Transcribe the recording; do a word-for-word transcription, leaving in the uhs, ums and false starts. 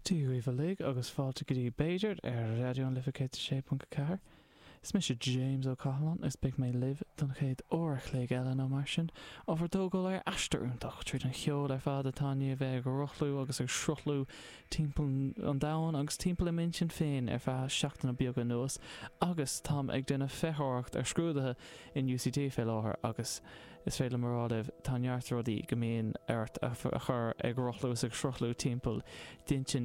Dia dhaoibh uilig agus fáilte go dtí B'fhéidir ar Raidió na Life céad sé ponc ceathair. Is mise James Ó Cathaláin is beidh mé libh don chéad uair a chloig eile nó mar sin, á bhur dtógáil ar aistear iontach tríd an cheol ar fad atá i ndiaidh bheith ag rothlú agus ag sruthlú timpeall an domhain agus timpeall i m'intinn féin ar feadh seachtaine beaga anuas agus táim ag déanamh feitheoireacht ar scrúduithe in UCD fé láthair agus is féidir liom a rá libh tá neart rudaí go mbíonn ort a chur ag rothlú is ag sruthlú timpeall d'intinn